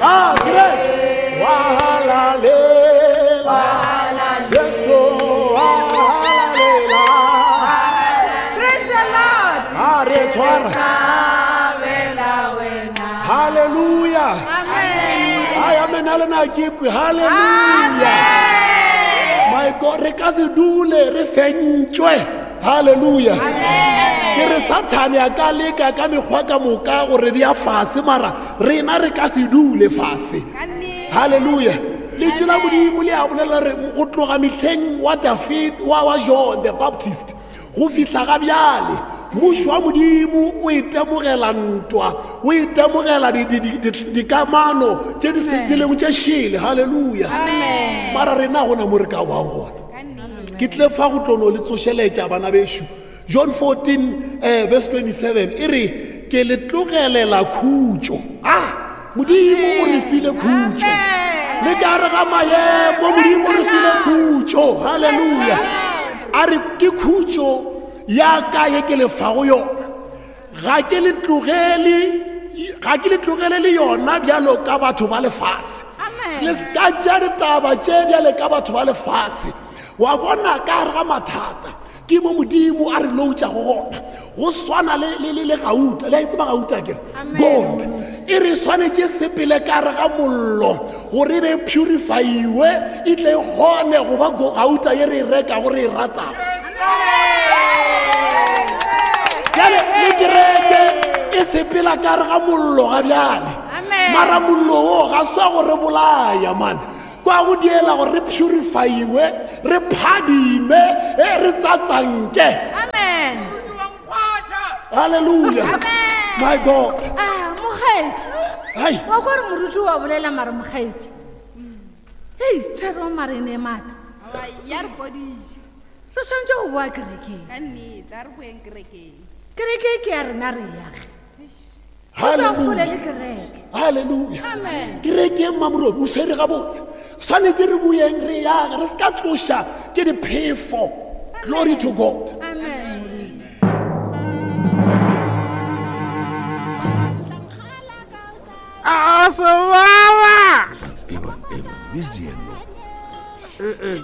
Ah, kereke. Wa halalela. Jesu wa halalela. Praise the Lord. A re e tshwara. Hallelujah. Amen. Ai, amen a lena ke kwe. Hallelujah. My God, re ka se dule re fentšwe. Hallelujah. Ke re Sathane a ka leka ka mekgwa ka moka go re bea fase mara rena re ka se dule fase. Hallelujah. Lentšu la Modimo le a bolela re go tloga mehleng wa David wa wa John the Baptist go fihla ga bjale mmušo wa Modimo o itemogela ntwa o itemogela dikamano tše di setilego tše šele. Hallelujah. Mara rena gona mo re ka wang gona. Ke tle fa go tlo no le tsošeletša bana bešo. John 14 eh, verse 27 e re ke le tlogelela khutšo. Ah, Modimo o re file khutšo. Le ka re ga maemo Modimo o re file khutšo. Hallelujah. A re ke khutšo ya ka ye ke le fago yona. Ga ke le tlogele ga ke le tlogele le yona bjalo ka batho ba lefase. Le se ka tšea ditaba tše bjale ka batho ba lefase. Wa bona ka gare ga mathata ke mo Modimo a re loutšago gona. Go swana le, le, le, le gauta. Le a e tseba gauta ke? Gold. E re swanetše sepele ka gare ga mollo gore e be purifyiwe e tle e kgone go ba gauta ye re e rekago re e ratago. Bjale le kereke e sepela ka gare ga mollo ga bjale. Mara mollo wo ga se wa go re bolaya man. Kwa go diela gore re purifyiwe, re phadime, e re tsatsanke. Amen. Hallelujah. Amen. My God. Ah, mokgaetši. Hai. Wa kwa re moruti wa bolela mare mokgaetši. Hei, thero mare e ne e maatla. Aowa, ya re fodiša. Re swanetše go boa kerekeng. Ka nnete, a re boeng kerekeng. Kereke ke ya rena re yage. Hallelujah. Hallelujah. Kereke Mmamorobi o swere gabotse. Swanetše re boeng re yage, re se ka tloša ke diphefo. Glory to God. Amen. A sebara. Eba, eba, busy yena. Eh, eh.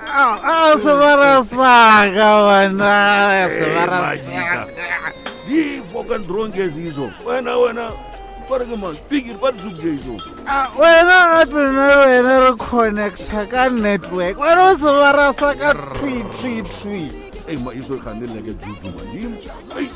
A sebara sa ka wena, sebara sa ka. Di fucking drunk as izo. Wena wena ba re ke mang? Pikiri ba di sukje izo. Ah, wena gape nna le wena re connecta ka network. Wena o sebara sa ka twi twi twi. Ei ma izo gane le ke juju man. Ei.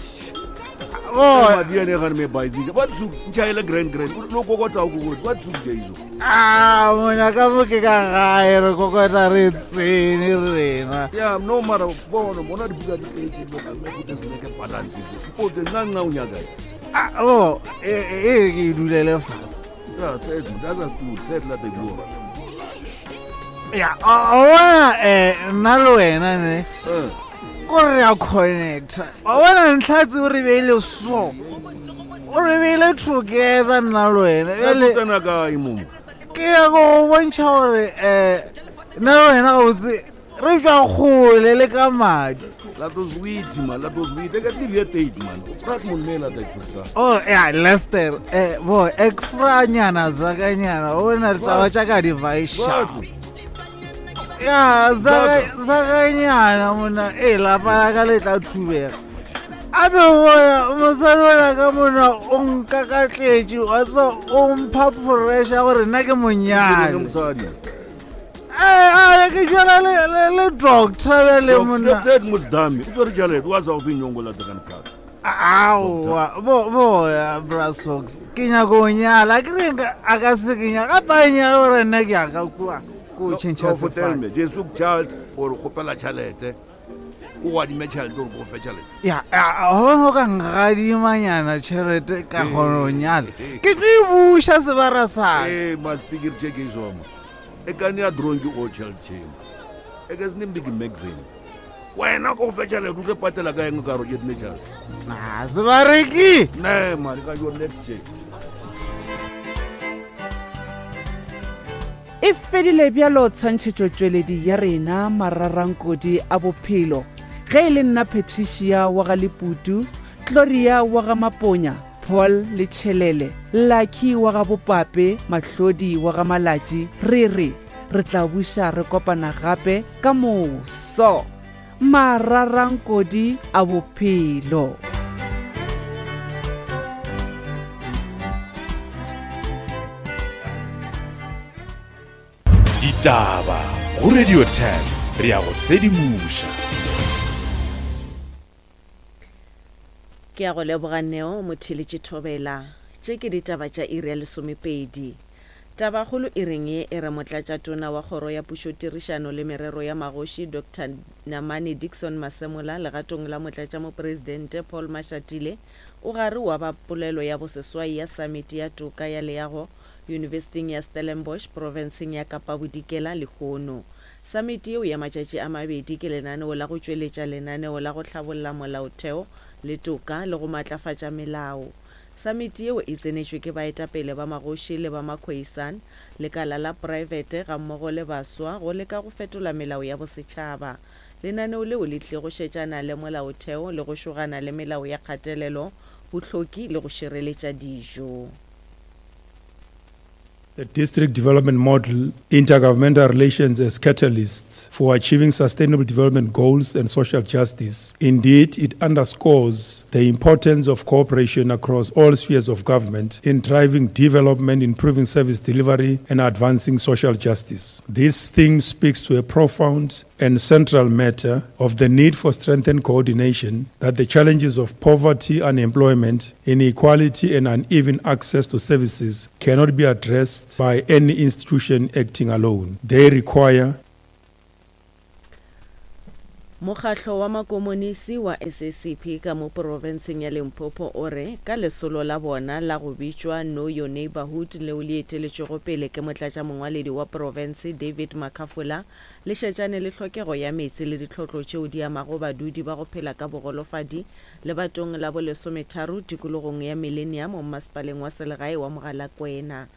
Oh. Ma di ene gane me baizije. Ba di suk nchaile grand grand. Lo kokota o kokota. Ba di sukje izo. Ah, monyaka mo ke ka gae re kokota re tsene rena. Ya no mara bona bona dibuka di tletse mo ka me go se ke balance. Ipote nna nna o nyaka. Ah, bo e e ke dulele fase. Ya set that's a stool set la te bua. Ya, o bona eh nna le wena ne. Eh. Ko re ya connecta. Wa bona ntlha tse o re beile so. O re beile together nna le wena. Bjale tsena kae mo? Ke ya go bontšha gore eh nna le wena gabotse re tšwa kgole le ka madi. La to sweet man, la to sweet. Ek het nie weet tyd man. Praat moet mee laat ek verstaan. Oh ya Lester, eh bo ek franyana zakanyana o na taba tša ka di vaisha. Ya zakanyana mona e lapa la ka le tla thubega. A be bona mosadi ona ka mona o nkakatletše wa tseba o mpha pressure gore nna ke monyane. Eh, a ke jala le le le doctor bjale monna. Doctor Musdami, o tswere tšhelete wa sa go fe nyongo la tekane phata. Aowa, bo boya Brasox, ke nyaka go nyala, ke reng a ka se ke nyaka, gape a nyala gore nna ke ya ka kua ko tšhentšha sefane. Jesu child or kgopela tšhelete. O go adime tšhelete gore ko fe tšhelete. Ya, gona o ka nkgadimanyana tšhelete ka kgona go nyala. Ke tlo e buša sebara sa. Ee, ma speaker tše ke isoma. E ka nea drone ke o tšhelete tšhemo. E ka se ne mbiki magazine. Wena ko fe tšhelete o tlo patela ka eng ka re ke dine tšhelete. Na sebareki. Ne, mare ka yo next tše. E fedile bjalo tshwantšhetšotšweledi ya rena Mararankodi a Bophelo. Ge e le nna Patricia wa ga Leputu, Gloria wa ga Maponya, Paul le Tšhelele, Lucky wa ga Bopape, Mahlodi wa ga Malatši, re re re tla buša re kopana gape ka moso. Mararankodi a bophelo. Ditaba go Radio 10 re ya go sedimoša. Ke a go leboga Neo Motheeletši Thobela. Tše ke ditaba tša iri ya lesomepedi. Tabakgolo iring ye e re Motlatšatona wa Kgoro ya Pušotirišano le Merero ya Magoši Doctor Namane Dickson Masemola legatong la Motlatšamopresidente Paul Mashatile o gare wa ba polelo ya boseswai ya Samiti ya Toka ya Leago Yunibesiting ya Stellenbosch profenseng ya Kapa Bodikela lehono. Samiti yeo ya matšatši a mabedi ke lenaneo la go tšweletša lenaneo la go hlabolla molaotheo le toka le go matlafatša melao. Samiti yeo e tsenetšwe ke baetapele ba magoši le ba Makhoisan, lekala la praebete gammogo le baswa go leka go fetola melao ya bosetšhaba. Lenaneo leo le tlile go šetšana le molaotheo le go šogana le melao ya kgatelelo, bohloki le go šireletša dijo. The district development model, intergovernmental relations as catalysts for achieving sustainable development goals and social justice. Indeed, it underscores the importance of cooperation across all spheres of government in driving development, improving service delivery, and advancing social justice. This theme speaks to a profound and central matter of the need for strengthened coordination that the challenges of poverty, unemployment, inequality, and uneven access to services cannot be addressed by any institution acting alone. They require Mokgahlo wa Makomonisi wa SACP ka mo porofenseng ya Limpopo o re ka lesolo la bona la go bitšwa Know Your Neighbourhood leo le eteletšwego pele ke motlatšamongwaledi wa porofense David Makhafola le šetšane le hlokego ya meetse le ditlhotlo tšeo di amago badudi ba go phela ka bogolofadi lebatong la bolesometharo tikologong ya Millennium mmasepaleng wa selegae wa Mogalakwena.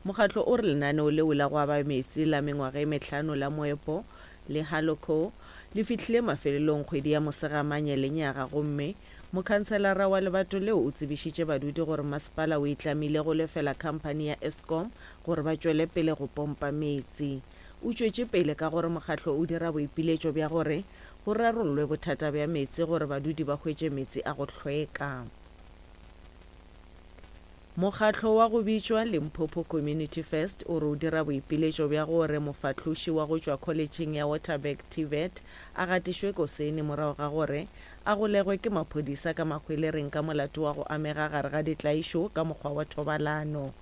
Mokgatlo o re lenaneo leo la go aba meetse la mengwaga e mehlano la moepo le Haloco le fihlile mafelelong kgwedi ya Mosegamanye lenyaga gomme mokhanselara wa lebato leo o tsebišitše badudi gore masepala o itlamile go lefela khamphani ya Eskom gore ba tšwele pele go pompa meetse. O tšwetše pele ka gore mokgatlo o dira boipiletšo bja gore go rarollwe bothata bja meetse gore badudi ba hwetše meetse a go hlweka. Mokgatlo wa go bitšwa Limpopo Community First o re o dira boipiletšo bja gore mofahloši wa go tšwa kholetšheng ya Waterberg TVET a gatišwe kosene morago ga gore a golegwe ke maphodisa ka mahwelereng ka molato wa go amega gare ga ditlaišo ka mokgwa wa thobalano.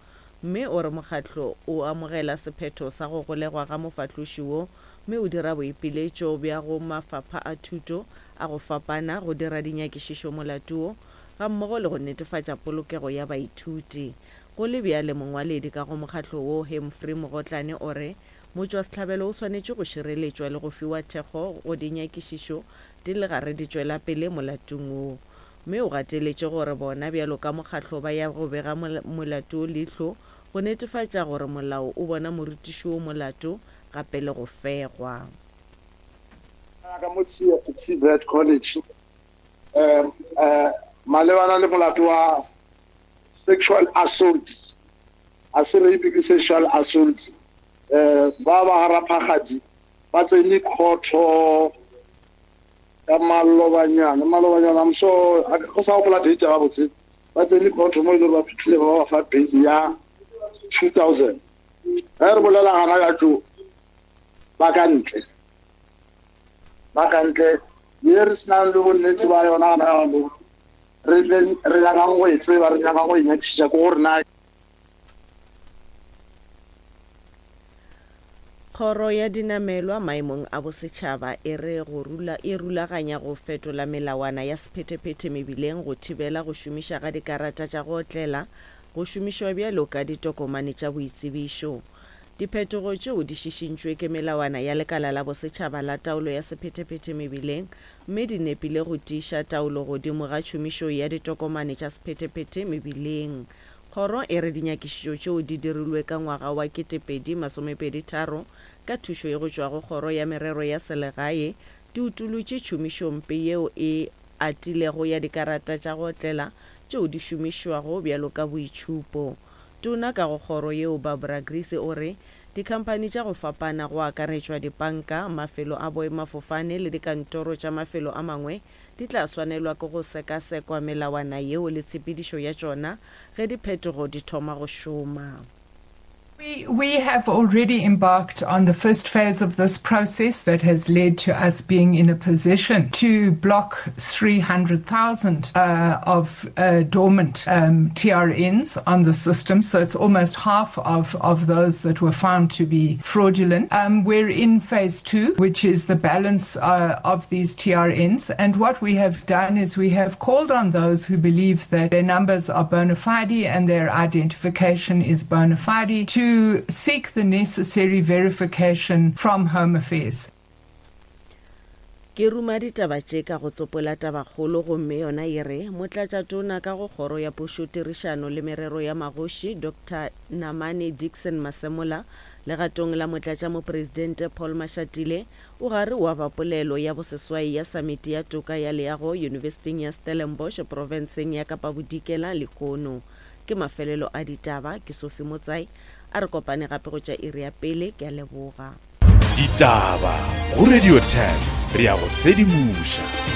Mme o re mokgatlo o amogela sephetho sa go golegwa ga mofahloši wo mme o dira boipiletšo bja go mafapha a thuto a go fapana go dira dinyakišišo molato wo gammogo le go netefatša polokego ya baithuti. Go le bjale mongwaledi ka go mokgatlo wo Humphrey Mogotlane o re motšwasehlabelo o swanetše go šireletšwa le go fiwa thekgo go dinyakišišo di le gare di tšwela pele molatong wo. Mme o gateletše gore bona bjalo ka mokgatlo ba ya go bega molato wo leihlo go netefatša gore molao o bona morutiši wo molato gape le go fegwa. Ka mo TVET College um malebana le molato wa sexual assault, a se rape ke sexual assault, um ba ba ga Raphagadi ba tsene khotho ka malobanyana, malobanyana, I'm sure, a ke sa gopola date gabotse, ba tsene khotho mo e le gore ba fihlile ba ba fa bail ya 2000. Ge re bolela gana ka tšo, ba ka ntle, ba ka ntle, ye re senang le bonnete ba yona gana jaanong, re tle re nyakang go e tseba, re nyakang go e nyakišiša ke gore na. Kgoro ya Dinamelwa maemong a bosetšhaba e re go rula e rulaganya go fetola melawana ya sephethephethe mebileng go thibela go šomiša ga dikarata tša go otlela go šomišwa bjalo ka ditokomane tša boitsebišo. Diphetogo tšeo di šišintšwe ke melawana ya Lekala la Bosetšhaba la Taolo ya Sephethephethe Mebileng mme di nepile go tiiša taolo godimo ga tšhomišo ya ditokomane tša sephethephethe mebileng. Kgoro e re dinyakišišo tšeo di dirilwe ka ngwaga wa 2023 ka thušo ye go tšwa go Kgoro ya Merero ya Selegae di utolotše tšhomišompe yeo e atilego ya dikarata tša go otlela tšeo di šomišwago bjalo ka boitšhupo. Tona ka go kgoro yeo Barbara Griese o re dikhamphani tša go fapana go akaretšwa dipanka, mafelo a boemafofane le dikantoro tša mafelo a mangwe di tla swanelwa ke go sekasekwa melawana yeo le tshepedišo ya tšona ge diphetogo di thoma go šoma. We, we have already embarked on the first phase of this process that has led to us being in a position to block 300,000 uh, of uh, dormant um, TRNs on the system. So it's almost half of, of those that were found to be fraudulent. Um, we're in phase two, which is the balance uh, of these TRNs. And what we have done is we have called on those who believe that their numbers are bona fide and their identification is bona fide to seek the necessary verification from Home Affairs. Ke ruma ditaba tše ka go tsopola tabakgolo gomme yona e re, Motlatšatona ka go Kgoro ya Pušotirišano le Merero ya Magoši, Doctor Namane Dickson Masemola, legatong la Motlatšamopresidente Paul Mashatile, o gare o aba polelo ya boseswai ya Samiti ya Toka ya Leago Yunibesiting ya Stellenbosch profenseng ya Kapa Bodikela lehono. Ke mafelelo a ditaba, ke Sophie Motsai, a re kopane gape go tša iri ya pele, ke a leboga. Ditaba go Radio 10 re a go sedimoša.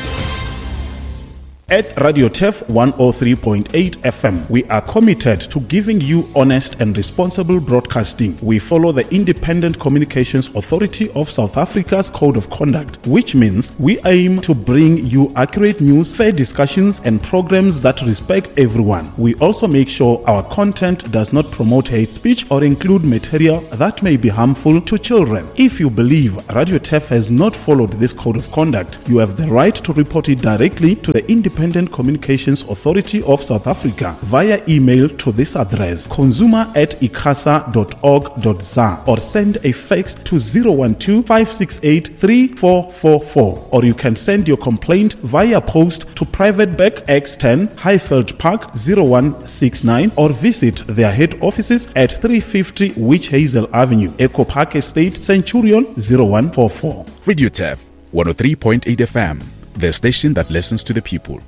At Radio Turf 103.8 FM, we are committed to giving you honest and responsible broadcasting. We follow the Independent Communications Authority of South Africa's Code of Conduct, which means we aim to bring you accurate news, fair discussions, and programs that respect everyone. We also make sure our content does not promote hate speech or include material that may be harmful to children. If you believe Radio Turf has not followed this code of conduct, you have the right to report it directly to the Independent Communications Authority of South Africa via email to this address consumer at icasa.org.za or send a fax to 012 568 3444 or you can send your complaint via post to Private Bank X10 Highveld Park 0169 or visit their head offices at 350 Witch Hazel Avenue, Echo Park Estate, Centurion 0144. Radio Turf 103.8 FM, the station that listens to the people.